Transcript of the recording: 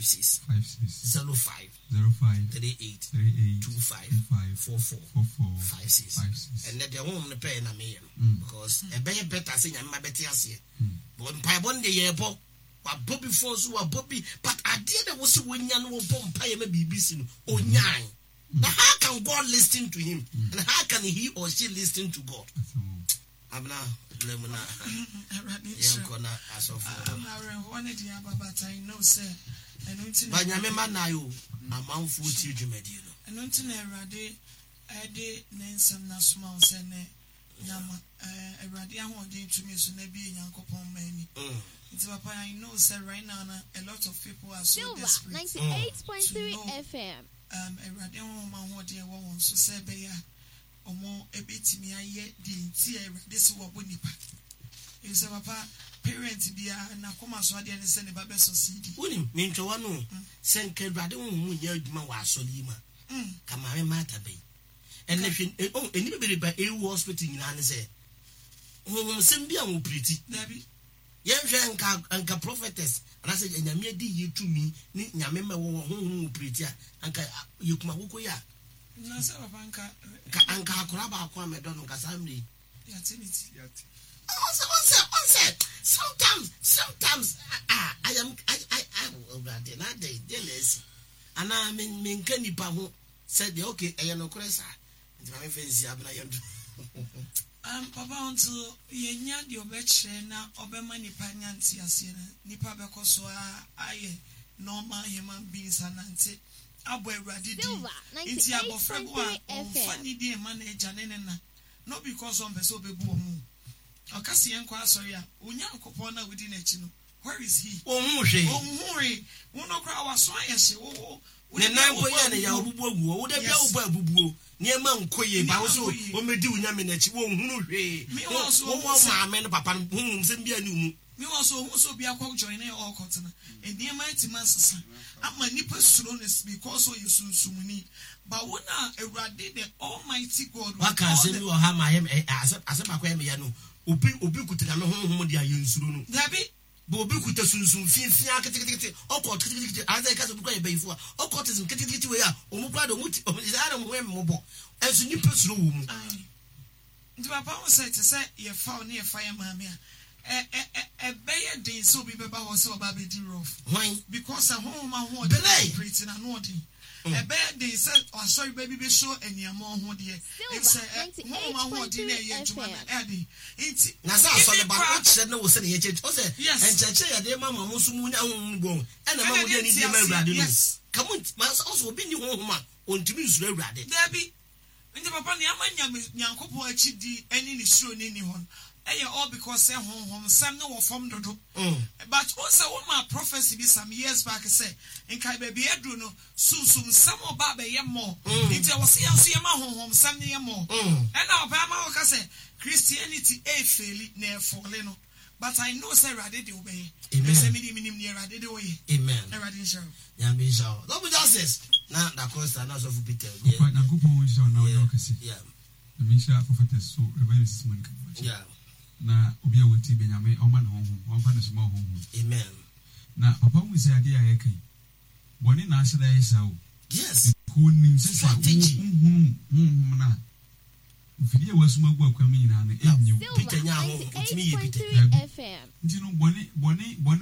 6 5 6 05 05 38 38 25 25 44 44 56 56. Ɛnɛ deɛ honhom no pɛɛ na meyɛ no Mm. because ɛbɛyɛ better sɛ Nyame ma bɛte aseɛ Mm. because mpaebɔ no deɛ yɛbɔ wabɔ bi fon so wabɔ bi but adeɛ na wɔ sɛ wɔnya no wɔbɔ mpaeɛ ma biribi si no ɔnyae na how can God listen to him and how can he or she listen to God Asɛm o. Abena berɛ mu na Awurade nhyira. yɛnkɔ na asɔfoɔ Um, awerɛhoɔ ne deɛ aba but I know sɛ ɛno nti na ba Nyame ma nae o amanfoɔ tie dwumadie no ɛno nti na Awurade ɛde ne nsɛm no asoma wo sɛ ne nam eh, Awurade ahoɔden tumi so na bie Nyankopɔn mma ani. Nti papa I know sɛ right now na a lot of people are so Silver desperate to 98.3 know FM. um, Awurade honhom ahoɔden a ɛwɔ wɔn so sɛ ɛbɛyɛ a wɔn ɛbɛtumi ayɛ deɛ nti a Awurade sɛ wɔbɔ nipa. Efisɛ papa parent biara n'akoma so adeɛ ne sɛ ne ba bɛ succeed. Wonim, mentwa w'ano o, sɛ nka Awurade honhom nyɛ adwuma wɔ asɔre yi mu a, ka Maame Martha bɛyi. Ɛnɛ hwɛ, eh, oh, nnipa bebree ba ewu hospital nyinaa ne sɛ, honhomsɛm bi a wɔpiriti. Dabi. Yɛnhwɛ nka anka prophetess anaasɛ anyame adi yie tumi ne nyame ma ɛwɔ honhom wɔ piriti a, anka yɛkum akoko yi a. Na sɛ papa nka. Nka anka akora baako a mɛdɔ no nka saa mmerɛ yi. Yɛate ne ti. Ɔnsɛ ɔnsɛ ɔnsɛ sometimes sometimes ah I am I I I Awurade na adɛn deɛ na asi anaa me menka nipa ho sɛ deɛ okay ɛyɛ nokorɛ saa nti ma memfa nsi abena yɛn to. Um, papa until yɛnya deɛ ɔbɛkyerɛ na ɔbɛma nipa nya nteaseɛ no nipa bɛkɔ so a ayɛ normal human beings anante abɔ Awurade din Silver nti abɔfra bi wɔ a 98.3 ɔmfa FM. ne din mma n'agya ne ne na not because ɔmpɛ sɛ ɔbɛbu wɔn o ɔka sɛ yɛnkɔ asɔre a Onyankopɔn no a wodi n'akyi no where is he? Ɔnhu hwee. Ɔnhu hwee. Wo no koraa w'aso ayɛ hye wo wo wo Ne de nan bia mpo wobɔ yɛ ne ya abubuo. ɔbubu agu hɔ. Wo da bia Yes. wobɔ abubuo. Nneɛma nkɔ yie. Ba wo Nneɛma so nkɔ yie. wɔmmɛdi wo nyame no akyi. Wɔnhunu hwee. Me Wo wɔ so wo ɔhu wɔ sɛ maame no papa no honhom sɛm biara nni wo mu. Me wɔ so ɔhu sɛ obi akɔ join ne ɔɔkɔtena. Nneɛma atumi asesa ama nnipa suro no because ɔyɛ sunsumuni. But wo na Awurade the almighty God with Waka all asɛm the bi wɔ ha ma ayɛ me ɛ asɛm asɛm baako a ɛyɛ me ya no. Obi obi kuta nyame honhom deɛ a yɛnsuro no. Dabi. But obi kuta sunsum fi fia ketekete, occult ketekete, anaasɛ yɛka sɛ obi kura yɛ bayifo a, occultism ketekete wei a, wɔn kura de wɔn ti, wɔn saa na wɔn ho yɛ mmɔbɔ. Ɛnso nnipa suro wɔ mu. Ae. Nti papa ho sɛ te sɛ yɛfa wo ne yɛfa yɛ maame a, ɛ ɛ ɛ ɛbɛyɛ den sɛ obi bɛba hɔ sɛ ɔba abɛdi rough. Hwan? Because sɛ honhom ahoɔden Belay! operate no ano ɔden. Ɛbɛyɛ den sɛ asɔre ba bi bɛsɔ aniammɔn ho deɛ, Silver efisɛ ɛ honhom ahoɔden no a 98.3 ɛyɛ adwuma no FM. ɛyɛ den. Nti Na sɛ asɔre even ba no, koraa. wokyerɛ no wo sɛdeɛ yɛkyerɛkyerɛ. Ɔsɛ Yes. nkyerɛkyerɛ yɛde ma ma mo nso mo nya honhom mu bɔn, ɛna ɛma Ɛna mo de de anidie ma nteaseɛ, Awurade no. yes. Ka mo nti, ma sɛ ɔsɛ obi nni honhom a, ɔntumi nsuro Awurade. Dabi. Nti papa nea ama Nyame Nyankopɔn akyidi ne ne suro no nni hɔ no ɛyɛ all because sɛ honhom nsɛm no wɔ fam dodo. But wohu sɛ wo maa prophecy bi some years back sɛ nkae baabi aduru no sunsum nsɛm ɔba abɛyɛ more nti ɛwɔ sɛ yɛn nso yɛma honhom nsɛm no yɛ more. Ɛna ɔpɛ ama woka sɛ Christianity ɛɛfeeli na ɛɛfɔle no but I know sɛ Awurade de wobɛyɛ. Amen. Ɛfisɛ me deɛ menim nea Awurade de woyɛ. Amen. Awurade nhyira wo. Nyame nhyira wo. Sɔfo Justice na Da Costa na Sɔfo Peter. Papa Nyankopɔn nhyira wo na ɔnyɛ wo kɛse. Yeah. Nyame nhyira Prophetess so Reverend Mrs Monica Boakye. Yeah. Na obi a wɔtie bɛ Nyame ɔma ne honhom ɔmfa ne so ma wo honhom. Amen. Na papa hu sɛ adeɛ a yɛka yi bɔne na ahyɛ da yɛ saa o. Yes. Because onim sɛ sɛ Strategy. wo nhunu honhom no a mfidie a wasum agu akwan mu nyinaa no ɛnyi wo. Peter Silver nyaa honhom, otumi yɛ Peter. 98.3 Dabi. FM. Nti no bɔne bɔne bɔne.